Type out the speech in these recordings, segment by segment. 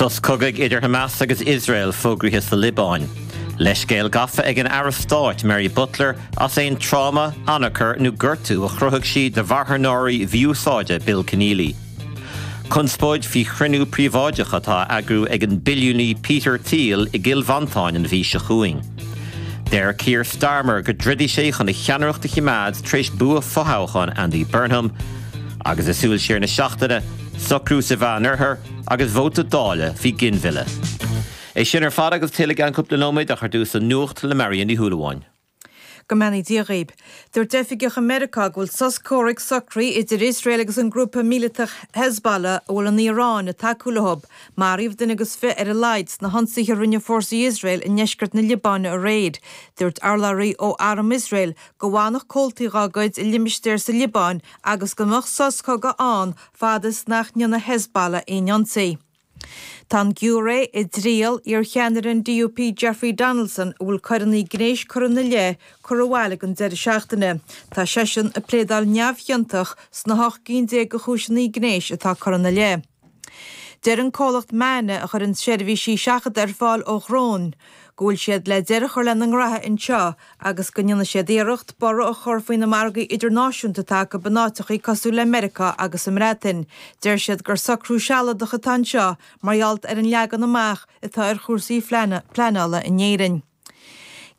Sos cogaidh idir Hamas agus Iosrael fógraithe sa Liobáin. Leithscéal gafa ag an Aire Stáit Mary Butler as aon tráma, anacair nó gortú a chruthaigh sí do mharthanóirí mhí-úsáide Bill Kenneally. Conspóid faoi chruinniú príobháideach atá á eagrú ag an billiúnaí Peter Thiel i gCill Mhantáin an mhí seo chugainn. Deir Keir Starmer go dtroidfidh sé chun a cheannaireacht a choimeád tar éis bua fothoghcháin Andy Burnham. Agus i súil siar na seachtaine, socrú sa Mheánoirthear agus vóta Dála faoi ghinmhilleadh. É sin ar fad agus tuilleadh i gceann cúpla nóiméad ach ar dtús an nuacht le Marion Ní Shúilleabháin. Go mbeannaí Dia dhaoib. Dúirt oifigeach i Meiriceá go bhfuil sos comhraic socraithe idir Iosrael agus an grúpa míleatach Hezbollah a bhfuil an Iaráin ag tacú leo. Maraíodh duine agus fiche ar a laghad sna hionsaithe a rinne fórsaí Iosrael i ndeisceart na Liobáine aréir. Dúirt urlabhraí ó arm Iosrael go bhfanfadh comhaltaí dá gcuid i limistéar sa Liobáin agus go mbeadh sos cogaidh ann fad is nach ndéanfaidh Hezbollah aon ionsaí. Tá an giúiré i dtriail iarcheannaire an DUP Jeffrey Donaldson, a bhfuil coireanna gnéis curtha ina leith, curtha abhaile ag an deireadh seachtaine. Tá seisean ag pléadáil neamhchiontach sna 18 gcinn de chúiseanna gnéis atá curtha ina leith. Deir an comhlacht MAN a chuireann seirbhísí seachadta ar fáil ó dhróin go bhfuil siad le deireadh a chur lena ngraithe anseo agus go ndéanfaidh siad iarracht borradh a chur faoi na margaí idirnáisiúnta atá acu in áiteachaí cosúil le Meiriceá agus an mBreatain. Deir siad gur socrú sealadach atá anseo mar gheall ar an leagan amach atá ar chúrsaí pleanála in Éirinn.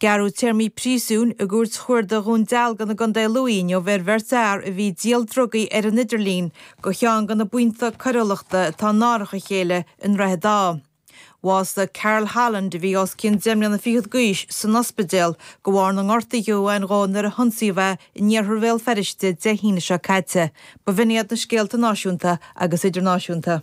Gearradh téarmaí príosúin i gCúirt Chuarda Dhún Dealgan i gContae Lú inniu ar bheirt fhear a bhí ag díol drugaí ar an idirlíon do cheann de na buíonta coiriúlachta atá in árach a chéile i nDroichead Átha. Bhásaigh Carl Holland, a bhí os cionn deich mbliana fichead d'aois, san ospidéal de bharr na ngortuithe a bhain dhó nuair a hionsaíodh é in iarthar Bhéal Feirste Dé hAoine seo caite. B'in iad na scéalta náisiúnta agus idirnáisiúnta.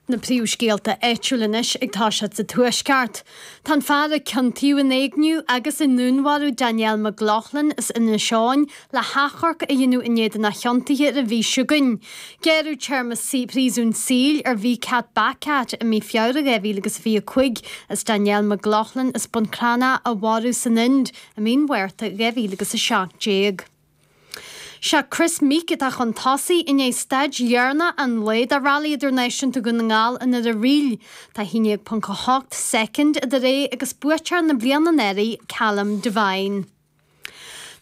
Na príomhscéalta áitiúla anois ag toiseacht sa Tuaisceart. Tá an fear a ciontaíodh in éigniú agus i ndúnmharú Danielle McLaughlin as Inis Eoghain le hachomharc a dhéanamh in éadan a chiontaithe ar an mhí seo chugainn. Gearradh téarma príosúin saoil ar Vicat Bakat i mí Feabhra 2025 as Danielle McLaughlin as Bun Cranncha a mharú san Ind i mí an Mhárta 2017. Sé Kris Meeke atá chun tosaigh i ndiaidh staid dheireanach an lae de Rally Idirnáisiúnta Dhún na nGall i nDoire Ríl. Tá 11.8 soicind idir é agus buaiteoir na bliana anuraidh, Callum Devine.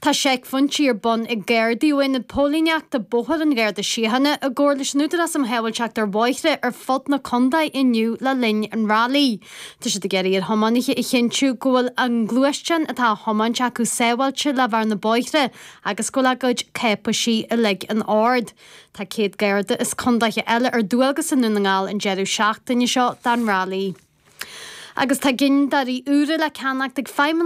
Tá seicphointí ar bun ag Gardaí ó Aonad Póilíneachta Bóthair an Gharda Síochána i gcomhar leis an Údarás um Shábháilteacht ar Bhóithre ar fud na contae inniu le linn an railí. Tá siad ag iarraidh ar thiománaithe a chinntiú go bhfuil an gluaisteán atá á thiomáint acu sábháilte le bheith ar na bóithre agus go bhfuil a gcuid cáipeisí uilig in ord. Tá 100 Garda as contaetha eile ar dualgas i nDún na nGall an deireadh seachtaine seo don railí. Agus tá gineadóirí úra le ceannacht ag feidhmeannaigh.